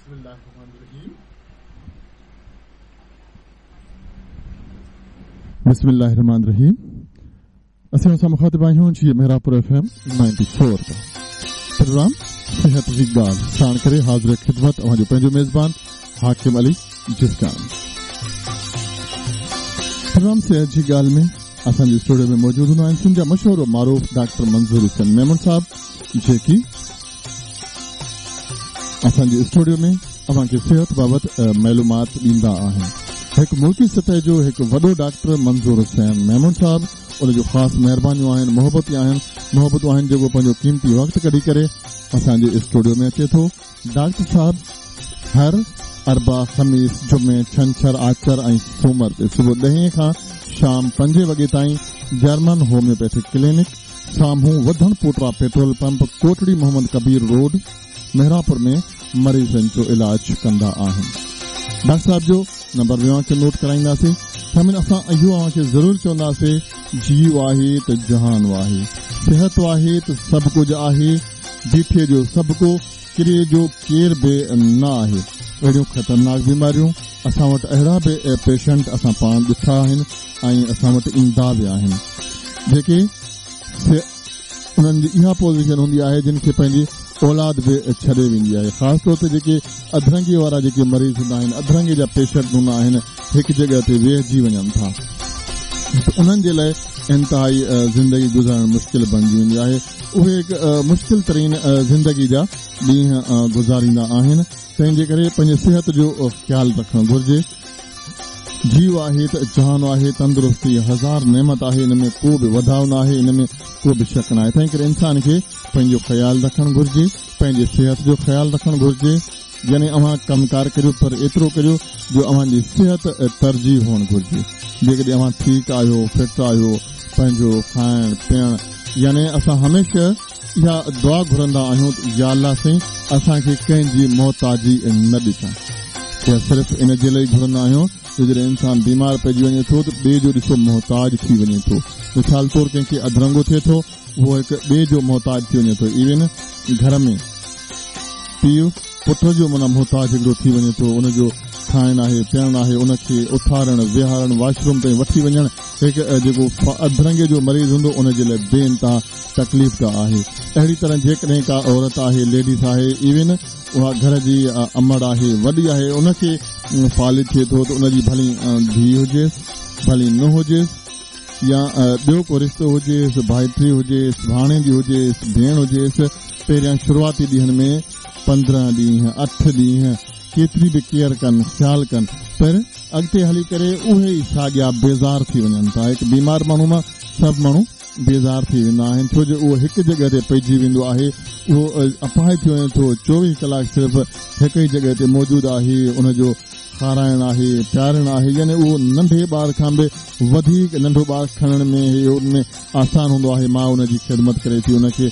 بسم الله الرحمن الرحيم اسين اوهان سان مخاطب آهيون جي محرابپور ايف ايم 94 تان پروگرام صحت جي ڳالهه ساڻ ڪري حاضر خدمت اوهان جو پنهنجو ميزبان حاڪم علي جسڪاڻي پروگرام صحت جي ڳالهه ۾ اسان جي اسٽوڊيو ۾ موجود هوندا آهن سنڌ جا مشهور و معروف ڊاڪٽر منظور حسين ميمڻ صاحب جيڪي اسان جي اسٽوڊيو ۾ اوهان کي صحت بابت معلومات ڏيندا آهن. هڪ ملڪي سطح جو هڪ وڏو ڊاڪٽر منظور حسين ميمڻ صاحب ان جون خاص مهربانيون آهن محبتون آهن محبتون آهن جيڪو پنهنجو قيمتي وقت ڪڍي ڪري اسان جي اسٽوڊيو ۾ اچي ٿو ڊاڪٽر صاحب هر اربع خميس جمعي ڇنڇر آچر ۽ سومر تي صبح ڏهين کان شام پنجين وڳي تائين جرمن هوميوپيٿڪ ڪلينڪ سامهون وڌڻ پوٽرا petrol pump Kotri Muhammad Kabir road Mehrapur ۾ مريضن جو علاج ڪندا آهن. ڊاڪٽر صاحب جو نمبر به اوهان کي نوٽ ڪرائينداسين. سامعين اسان اهو اوهان کي ضرور چونداسي جيء آهي ته جهان آهي، صحت آهي ته سڀ ڪجهه آهي، بيٺي جو سڀ ڪو، ڪري جو ڪير به نه آهي. اهڙيون خطرناڪ بيماريون اسان وٽ اهڙا به پيشنٽ اسان پاڻ ڏٺا آهن ۽ اسان وٽ ايندا به آهن جيڪي انهن جي اها پوزيشن هوندي آهي جن کي پنهنجي اولاد به ڇڏي ويندي آهي خاص طور تي جيڪي اڌرنگي وارا جيڪي مريض هوندا آهن اڌرنگي جا پيشنٽ هوندا آهن هڪ جڳهه تي ويهجي وڃن ٿا ته انهن جي لاء انتهائي زندگي گذارڻ مشڪل بڻجي ويندي آهي اهي هڪ مشڪل ترين زندگي جا ڏينهن گذاريندا آهن تنهن جي ڪري پنهنجي صحت جو خيال رکڻ گهرجي جيء آهي ته جهان آهي، تندرستي هزار نعمت آهي، ان ۾ ڪو به وڌاء ناهي، ان ۾ ڪو به شڪ ناهي. تنهن ڪري انسان کي پنهنجو خيال رکڻ گهرجي، پنهنجي صحت جو خيال رکڻ گهرجي، يعني اوهان ڪم ڪار ڪريو پر ايترو ڪريو جو اوهان جي صحت ترجيح هئڻ گهرجي. جيڪڏهن اوهان ٺيڪ آهيو، فٽ آهيو، پنهنجو کائڻ پيئڻ يعني اسان هميشه اها دعا گهرندا آهيون ته يا الله سائين اسان کي ڪنهن جي محتاجي نه ڏجان. اها صرف ان جي لاء گهرندا آهيون جو جڏهن انسان بيمار پئجي وڃي ٿو ته ٻئي جو ڏسو محتاج ٿي وڃي ٿو. مثال طور ڪنهن کي اڌرنگو ٿئي ٿو اهو هڪ ٻئي جو محتاج ٿي وڃي ٿو. ايون گهر ۾ پيء پٽ جو معنيٰ محتاج هڪڙو ٿي وڃي ٿو. ان جو کائڻ آهي، پيئڻ آهي، ان کي اٿارڻ، ويهارڻ، واش روم تائين وٺي وڃڻ هڪ جيڪو اڌرنگي جو مريض هوندو ان جي لاء بي انتها تڪليف ده آهي. اهڙي طرح جيڪڏهن ڪا عورت آهي، ليڊيز آهي، ايون اها گهر جي امڙ آهي، وڏي آهي، ان کي فالج ٿئي ٿو ته ان جي ڀلي ڌيء هجيس، ڀلي نونهن هجيس يا ٻيو ڪو رشتو هجيس، ڀائٽي هجيس، ڀاڻيجي هجيس، ڀيڻ هجيس، پهريان شروعاتي ڏينهن ۾ 15 ڏينهن، اٺ ڏينهن ڪيتري به ڪيئر ڪن، خيال ڪن، پر اڳتي هلي ڪري اهي ئي ساڳيا بيزار ٿي وڃن ٿا. هڪ بيمار ماڻهو مان سڀ ماڻهو بيزار ٿي ويندا آهن ڇو جو اهو هڪ جڳهه تي پئجي ويندو آهي اهو اپاهج ٿي وڃي ٿو 24 ڪلاڪ صرف هڪ ئي جڳهه تي موجود آهي ان جو کارائڻ آهي پيارڻ آهي يعني اهو ننڍي ٻار کان به وڌيڪ ننڍو ٻار کڻڻ ۾ هي ان ۾ آسان هوندو آهي ماء ان جي خدمت ڪري ٿي ان کي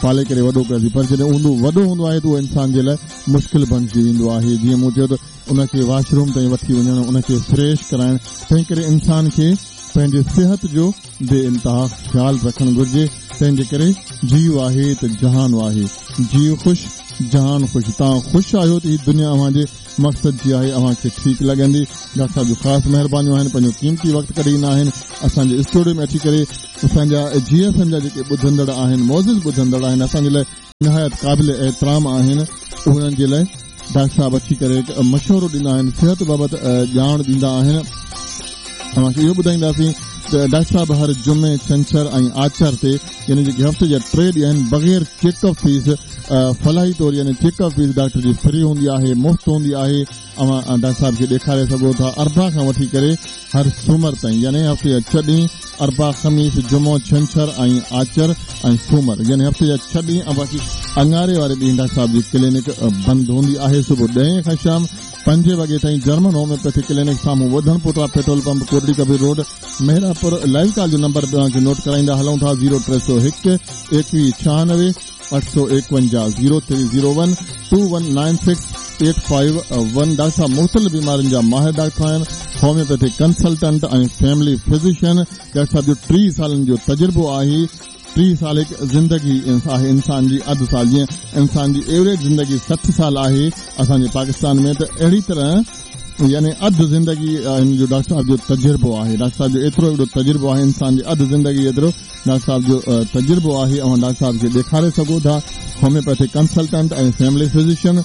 پالي ڪري وڏو ڪري ٿي پر جڏهن هوندو وڏو هوندو آهي ته اهو انسان جي لاء مشڪل بڻجي ويندو آهي جيئن مون چيو ته ان کي واش روم تائين وٺي وڃڻ ان کي فريش ڪرائڻ تنهن ڪري انسان کي پنهنجي صحت جو بي انتها خيال رکڻ گهرجي، تنهن جي ڪري جيء آهي ته جهان آهي، جيء خوش جهان خوش، توهان خوش آهيو ته هي دنيا اوهان جي مقصد جي آهي، اوهان کي ٺيڪ لڳندي. ڊاڪٽر صاحب جون خاص مهربانيون آهن، پنهنجو قيمتي وقت ڪڍي ايندا آهن اسان جي اسٽوڊيو ۾ اچي ڪري اسان جا جي ايف ايم جا جيڪي ٻڌندڙ آهن، معزز ٻڌندڙ آهن، اسان جي لاء نهايت قابل احترام آهن، انهن جي لاء ڊاڪٽر صاحب اچي ڪري هڪ مشورو ڏيندا آهن، صحت بابت ڄاڻ ڏيندا آهن. اوهان کي اهو ٻڌائينداسين ته ڊاڪٽر صاحب هر جمعي، ڇنڇر ۽ آچر تي يعني جيڪي هفتي جا ٽي ڏينهن آهن بغير چيڪ اپ فيس فلاحي طور يعني چيڪ اپ فيس ڊاڪٽر جي فري هوندي آهي، مفت هوندي آهي. اوهان ڊاڪٽر صاحب کي ڏيکاري سگهو ٿا اربع کان وٺي ڪري هر سومر تائين يعني هفتي جا ڇهه ڏينهن اربع، خميس، جمعو، ڇنڇر ۽ آچر ۽ سومر يعني هفتي جا ڇهه ڏينهن ۽ باقي اڱاري واري ڏينهن ڊاڪٽر صاحب جي ڪلينڪ بند هوندي آهي صبح ڏهين کان شام پنجين وڳي تائين جرمن هوميوپيٿڪ ڪلينڪ سامهون وڌڻ پوٽرا petrol pump Kotri Kabir road Mehrapur live call جو نمبر به اوهان کي نوٽ ڪرائيندا هلون ٿا zero 301 21 96 851 zero three zero one two one nine six eight five one doctor صاحب مختلف بيمارين جا ماهر ڊاڪٽر آهن homeopathic consultant ۽ family physician doctor صاحب جو 30 سالن جو تجربو آهي. 30 سال هڪ زندگي آهي انسان جي اڌ سال جيئن انسان جي ايوريج زندگي 60 سال آهي اسان جي پاڪستان ۾ ته اهڙي طرح يعني اڌ زندگي هن جو ڊاڪٽر صاحب جو تجربو آهي ڊاڪٽر صاحب جو ايترو وڏو تجربو آهي انسان جي اڌ زندگي جيترو ڊاڪٽر صاحب جو تجربو آهي اوهان ڊاڪٽر صاحب کي ڏيکاري سگهو ٿا homeopathic consultant ۽ family physician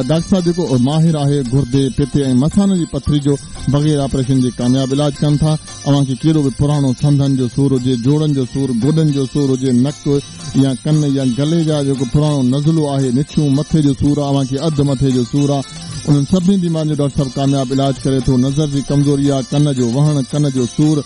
doctor صاحب جيڪو ماهر آهي گردي پتي ۽ مثاني جي پٿري جو بغير آپريشن جي ڪامياب علاج ڪن ٿا اوهان کي ڪهڙو به پراڻو سنڌن جو سور هجي جوڙن جو سور گوڏن جو سور هجي نڪ يا ڪن يا گلي جا جيڪو پراڻو نزلو آهي نڇون مٿي جو سور آ اوهان کي اڌ مٿي جو سور آ انهن سڀني بيمارين جو ڊاڪٽر صاحب ڪامياب علاج ڪري ٿو نظر جي ڪمزوري آ ڪن جو وهڻ ڪن جو سور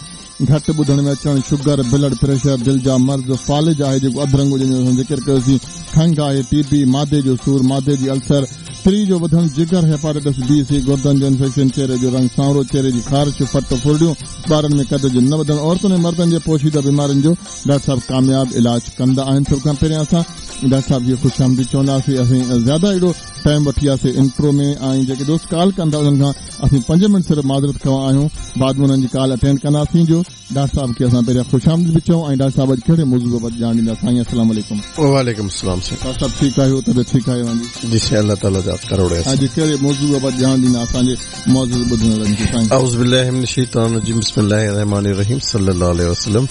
گهٽ ٻڌڻ ۾ اچڻ شگر بلڊ پريشر دل جا مرض فالج آهي جيڪو اڌرنگو جنهن جو اسان ذڪر ڪيوسين کنگهه آهي ٽي بي معدي جو سور معدي جي السر تري جو وڌڻ جگر هيپاٽائٽس بي سي گردن جو انفيڪشن چهري جو رنگ سانورو چهري جي خارش ڦٽ ڦرڙيون ٻارن ۾ قد جو نه وڌڻ عورتن ۽ مردن جي پوشيده بيمارين جو ڊاڪٽر صاحب ڪامياب علاج ڪندا آهن سڀ کان پهريان اسان ڊاڪٽر صاحب کي خوش آمديد چونداسين اسين زياده اهڙو ٽائيم وٺي وياسين انٽرو ۾ ۽ جيڪي دوست ڪال ڪن ٿا انهن کان اسين پنج منٽ صرف معذرت خواهه آهيون بعد ۾ انهن جي ڪال اٽينڊ ڪنداسين جو ڊاڪٽر صاحب کي اسان پهريان خوش آمديد به چئون ۽ ڊاڪٽر صاحب اڄ ڪهڙي موضوع بابت ڄاڻ ڏيندا سائين السلام عليڪم. وعليڪم السلام سائين. ڊاڪٽر صاحب ٺيڪ آهيو طبيعت ٺيڪ آهي اوهان جي. جي سائين الله تعالي جا ڪروڙ احسان. اڄ ڪهڙي موضوع بابت ڄاڻ ڏيندا اسان جي معزز ٻڌندڙن کي سائين. اعوذ بالله من الشيطان الرجيم بسم الله الرحمٰن الرحيم صلي الله عليه وسلم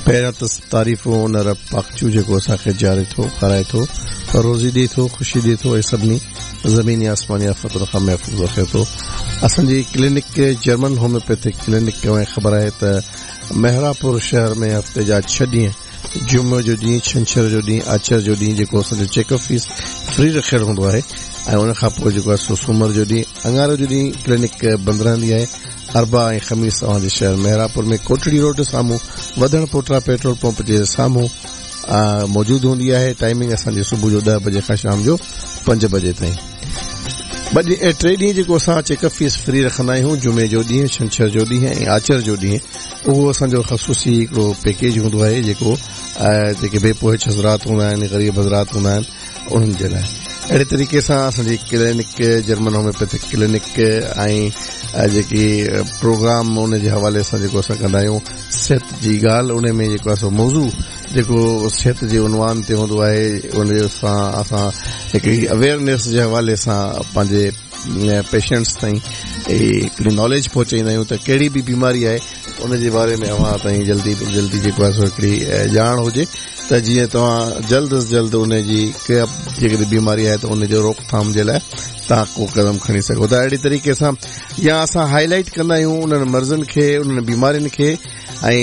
پهريان ته تعريفون ان رب پاڪ جون جيڪو اسان کي جياري ٿو کارائي ٿو روزي ڏي ٿو خوشي ڏي ٿو ۽ سڀني زميني آسماني آفتن کان محفوظ رکي ٿو. اسان جي ڪلينڪ جرمن هوميوپيٿڪ ڪلينڪ اوهان کي خبر آهي ته محرابپور شهر ۾ هفتي جا ڇهه ڏينهن جمعي جو ڏينهن ڇنڇر جو ڏينهن آچر جو ڏينهن جيڪو اسان جو چيڪ اپ فيس فري رکيل هوندو آهي ۽ ان کان پوء جيڪو آهي سو سومر جو ڏينهن اڱاري جو ڏينهن ڪلينڪ بند رهندي آهي اربع ۽ خميس اوهان جي شهر محرابپور ۾ ڪوٽڙي روڊ سامهون وڌڻ پوٽرا پيٽرول پمپ جي سامهون موجود هوندي آهي ٽائمنگ اسان جي صبح جو 10 بجي کان شام جو 5 بجي تائين ٻه ڏينهن ٽي ڏينهن جيڪو اسان چيڪ اپ فيس فري رکندا آهيون جمعي جو ڏينهن ڇنڇر جو ڏينهن ۽ آچر جو ڏينهن اهو اسان جو خصوصي هڪڙو پيڪيج هوندو آهي جيڪو جيڪي بي پهچ حضرات هوندا آهن غريب حضرات هوندا آهن انهن جي لاء اهڙي طريقي سان اسان جي ڪلينڪ جرمن هوميوپيٿڪ ڪلينڪ ۽ جيڪي پروگرام ان جي حوالي سان جيڪو اسان ڪندا آهيون صحت جي ڳالهه ان ۾ جيڪو آهي سو موضوع جيڪو صحت جي عنوان تي هوندو آهي ان سان اسان هڪڙي اويئرنيس جي حوالي سان پنهنجي پيشنٽس تائين هڪڙي ناليج پهچائيندا آهيون ته ڪهڙي به بيماري آهي ان جي باري ۾ اوهان تائين جلدي جلدي جيڪو آهي سو هڪڙي ڄاڻ هجي ته جيئن توهان جلد از جلد ان جي جيڪڏهن بيماري آهي ته ان جو روڪٿام جي لاء توهان ڪو قدم کڻي سگهو ٿا اهڙي طريقي سان يا اسان هائي لائيٽ ڪندا آهيون انهن مرضن کي انهن بيمارين کي ۽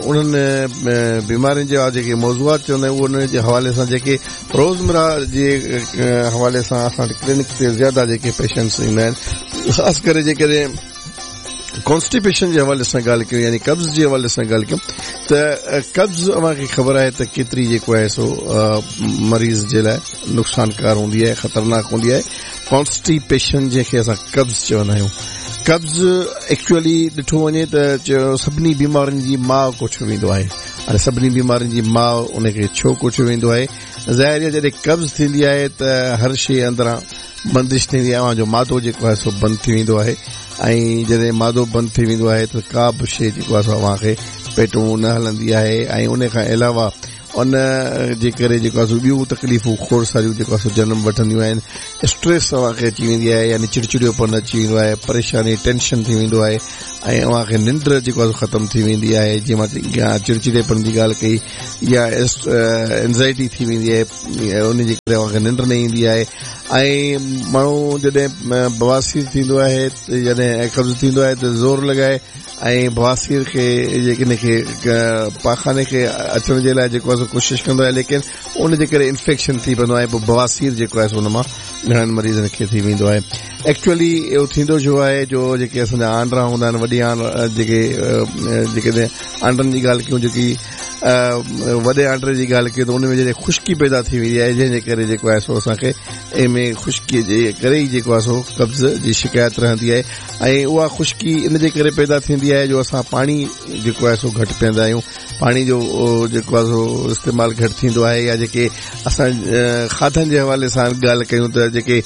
انهن بيمارين جا جيڪي موضوعات چوندا آهيون انهن جي حوالي سان جيڪي روزمره جي حوالي سان اسان وٽ ڪلينڪ تي زياده جيڪي پيشنٽس ايندا آهن خاص ڪري جيڪڏهن ڪانسٽيپيشن جي حوالي سان ڳالهه ڪيون يعني قبض جي حوالي سان ڳالهه ڪيون ته قبض اوهان کي خبر آهي ته ڪيتري جيڪو آهي سو مريض جي لاء نقصانڪار هوندي آهي خطرناڪ هوندي آهي ڪانسٽيپيشن جنهن کي اسان قبض چوندا آهيون قبض ايڪچوئلي ڏٺو وڃي ته سڀني بيمارين جي ماء ڪوٺيو ويندو آهي ۽ سڀني بيمارين جي ماء ان کي ڇو ڪوٺيو ويندو آهي ظاهر آهي جڏهن قبض ٿيندي آهي ته هر شيء اندران بندش ٿيندي آهي اوهان جو معدو جيڪو آهي سو بند ٿي ويندو آهي ۽ جڏهن معدو بند ٿي ويندو آهي ته ڪا به شيء جيڪو آهي سو اوهان کي پيٽون نه هلندي آهي ۽ ان کان علاوه ان جي ڪري جيڪو آهي سو ٻيون تڪليفون کوڙ ساريون جيڪو آهي سو جنم وٺنديون آهن اسٽريس اوهان کي اچي ويندي آهي يعني چڙچڙيوپن اچي ويندو آهي پريشاني ٽينشن ٿي ويندو آهي ۽ اوهان کي ننڊ جيڪو آهي سو ختم ٿي ويندي آهي جيئن مان چڙچڙيپن جي ڳالهه ڪئي يا انزائٽي ٿي ويندي آهي ان جي ڪري اوهان کي ننڊ نه ايندي آهي ۽ ماڻهو جڏهن بواسير ٿيندو آهي جڏهن قبض ٿيندو آهي ته زور لڳائي ۽ بواسير کي ان کي پاخاني کي اچڻ جي لاء جيڪو آهي سو ڪوشش ڪندو آهي ليڪن ان جي ڪري انفيڪشن ٿي پوندو آهي پوء بواسير جيڪو آهي سو ان مان گهڻن مريضن کي ٿي ويندو آهي ايڪچوئلي اهو ٿيندو ڇو آهي جو جيڪي اسان جا آنڊرا هوندا آهن وڏي آنڊ جيڪي جيڪڏهن آنڊن جي ڳالهه ڪيون جيڪي وڏي آنڊري جي ڳالهه ڪيون ته ان ۾ جڏهن خشڪي پيدا ٿي ويندي آهي جنهن جي ڪري جيڪو آهي سو اسان کي ان ۾ خشڪي جي ڪري ئي جيڪو آهي سو قبض جي شڪايت رهندي آهي ۽ اها خشڪي ان جي ڪري پيدا ٿيندي آهي جو اسان پاڻي جيڪو آهي سو گهٽ پيئندا آهيون پاڻي جو جيڪو آهي سو استعمال گهٽ ٿيندو آهي يا جيڪي اسان کاڌن جي حوالي سان ڳالهه ڪيون ته جيڪي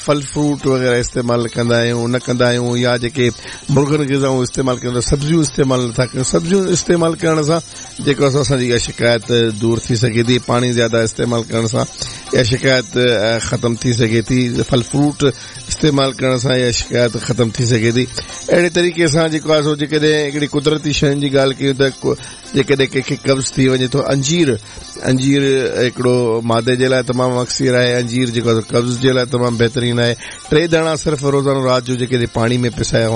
ڦل فروٽ وغيره استعمال ڪندا آهيون نه ڪندا آهيون يا جيڪي مرغن غذائون استعمال ڪيون ٿا سبزيون استعمال نٿا ڪيون سبزيون استعمال ڪرڻ سان جيڪو آهي اسان جي اها شڪايت دور ٿي سگهي ٿي پاڻي زياده استعمال ڪرڻ سان اها شڪايت ختم ٿي سگهي ٿي ڦل فروٽ استعمال ڪرڻ سان اها شڪايت ختم ٿي سگهي ٿي اهڙي طريقي سان جيڪو آهي سو جيڪڏهن هڪڙي قدرتي شين جي ڳالهه ڪيون ته جيڪڏهن ڪنهن کي قبض ٿي وڃي ٿو انجير انجير هڪڙو معدي جي لاء تمام اڪسير آهي انجير جيڪو آهي قبض جي لاء تمام بهترين آهي ٽي داڻا صرف روزانو رات جو جيڪڏهن پاڻي ۾ پسايا